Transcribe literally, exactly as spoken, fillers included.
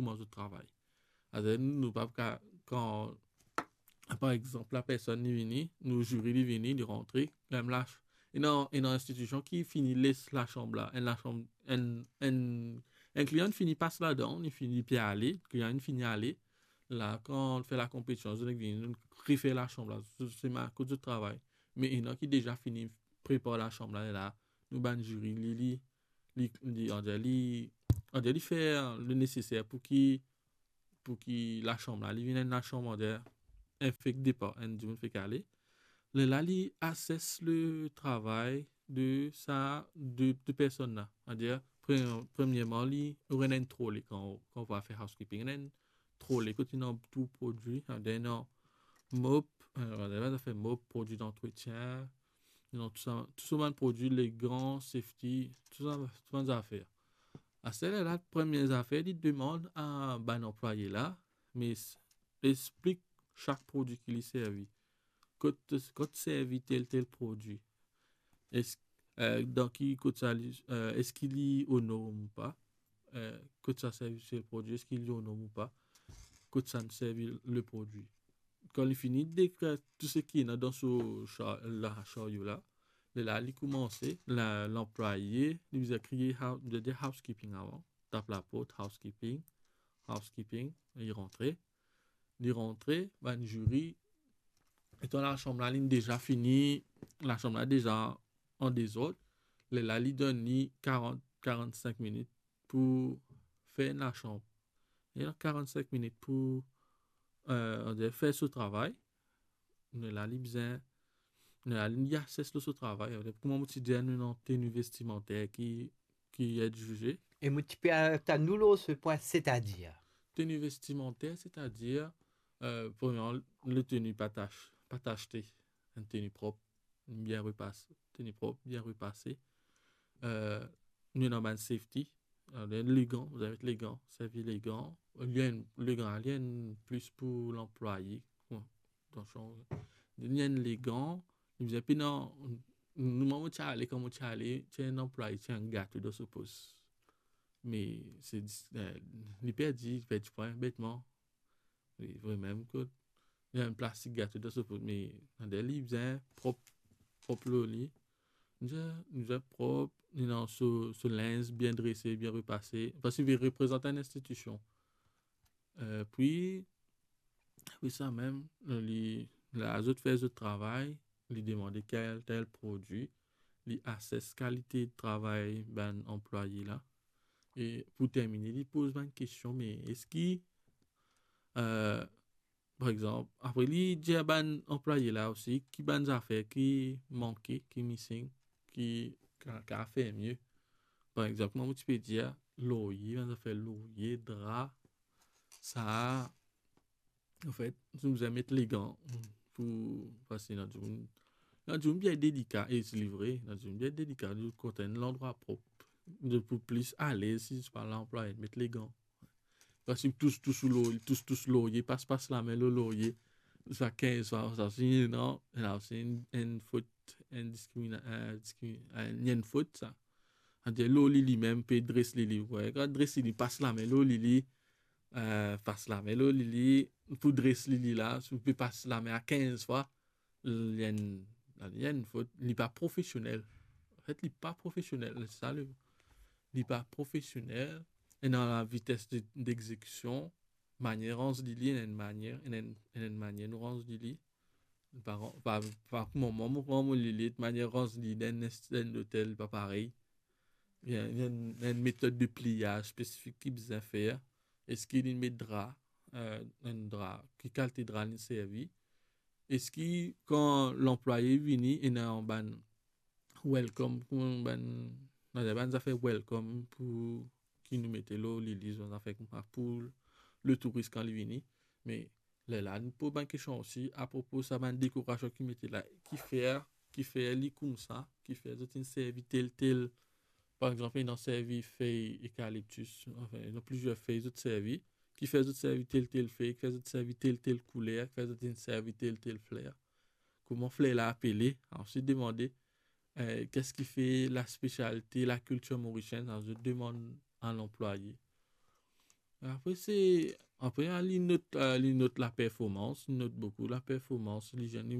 kouma zot travay. Aster nou, nou pa ka, kan, par exanp, la personn li vini, nou ziri li vini, li rantre, li amenn lach-, ena, ena enstitision ki fini les lasanm la, enn lasanm, enn, enn, enn klian fini pas ladan, li fini, li pe ale, klian fini ale, la, kan fer lakonpetision, zot vinn vini, nou refer lasanm la, se, se ma-, kot zot travay. Me ena ki deza fini prepar lasanm la, la, nou bann ziri, li, li, li, li, on dirait li, on dirait li fer le neseser pou ki, pou ki lasanm la, li vinn enn lasanm, on dirait, enn fek depar, enn dimoun fek ale. Lerla li ases le travay de sa de, de personn la. On dirait, pre-, premierman, li, ou ena enn trole kan, kan ou va fer housekeeping. Ena enn trole kot ena tou prodwi, on dirait ena mop, euh, on dirait zafer mop, prodwi dantretien, non, tou sa, tou sa bann prodwi, legan, safety, tou sa, tou bann zafer. Aster la, premie zafer, li demann a bann anplwaye la, me s-, explik sak prodwi ki li servi. Kot, kot servi tel, tel prodwi. Es-, euh, dan ki kot sa li, euh, eski li o norm ou pa? Euh, kot sa servi tel prodwi, eski li o norm ou pa? Kot sa servi le prodwi? Kan li fini dekrir tou seki ena dan so sa-, la, saryo la, lerla li koumanse, la, lanplwaye, li bizin kriye hou-, li dir housekeeping avan, tap laport, housekeeping, housekeeping, li rantre, li rantre, bann ziri, etan lasanm la, linn deza fini, lasanm la deza an dezord, lerla li donn li karant, karannsink minit pou fer enn lasanm. Li ena karannsink minit pou, euh, on dirait, fer so travay. Lerla li bizin, lerla li ases lor so travay. Kouma mo ti dir, nou ena teni vestimanter ki, ki et zize. E mo ti pe atann ou lor se pwin, setadir? Teni vestimanter, setadir, euh, premierman, le teni pa tach-, pa tachte, enn teni prop, bien repase, teni prop, bien repase. Euh, nou ena bann safety, euh, legan, bizin met legan, servi legan. Li enn, legan, li enn plis pou lanplwaye. Bon, atansion, li enn legan, li bizin pena, nou, mo ti ale, kan mo ti ale, ti enn anplwaye, ti enn gato dan so pos. Me se dis-, euh, li perdi, li perdi pwin, betman. Li vremem kot li enn plastik gato dan so pos, me deryer li bizin prop, prop lor li. Bizin, bizin prop, li ena so, so linz bien drese, bien repase, parski li reprezant enn institision. Euh, pi, pi sa mem, li, la, zot fer zot travay, li demande kel, tel prodwi, li ases kalite travay bann anplwaye la. E pou termine, li poz bann kestion, me eski, euh, par exanp, apre li dir bann anplwaye la osi, ki bann zafer ki manke, ki missing, ki ka, ka fer mie. Par exanp, kouma mo ti pe dir, lorye, bann zafer lorye, dra, sa, anfet, nou bizin met legan pou, parski ena dimoun, ena dimoun bien delika, e se li vre, ena dimoun bien delika, nou kontan enn landrwa prop. Zot pou plis alez si zot pa lanplwaye met legan. Parski tous, tous lor, tous, tous lorye, pas, pas lame lor lorye, sa kinz fwa, sa si, non, la osi enn, enn fot, enn diskrimina-, euh, diskri-, enn, enn fot sa. Adir lor li, limem pe dres li, li, wi, kan dres li, li pas lame lor li, li, euh, pas lame lor li, li, pou dres li, li la, si ou pe pas lame a kinz fwa, li enn, li enn fot, li pa profesionel. Anfet, li pa profesionel, se sa le, li pa profesionel, ena la vites de, degzekision, manier ranz li, li, ena enn manier, ena enn, ena enn manier nou ranz li, li. Pa, pa, pa kouma mwa, mo ranz mo lili, manier ranz li dan enn, dan enn lotel, li pa parey. Li ena, li ena enn, enn metod de pliyaz spesifik ki bizin fer. Eski li met dra, euh, enn dra, ki kalite dra li servi? Eski kan lanplwaye vini, ena bann welcome, kouma bann, bann zafer welcome pou ki nou mete lor lili, bann zafer koumsa pou le touris kan li vini. Me lerla nou poz bann kestion osi apropo sa bann dekorasion ki mete la, kifer, kifer li koumsa, kifer zot inn servi tel, tel, par exanp, ena servi fey ekaliptis, anfin, ena plizier fey zot servi, kifer zot servi tel, tel fey, kifer zot servi tel, tel kouler, kifer zot inn servi tel, tel fler. Kouma fler la apele, answit demande, euh, qu'est-ce qui fait la spécialité, la culture mauricienne, sa zot demann a lanplwaye. Apre se, apre, ah, li not, ah, li not laperformans, li not boukou laperformans, li, li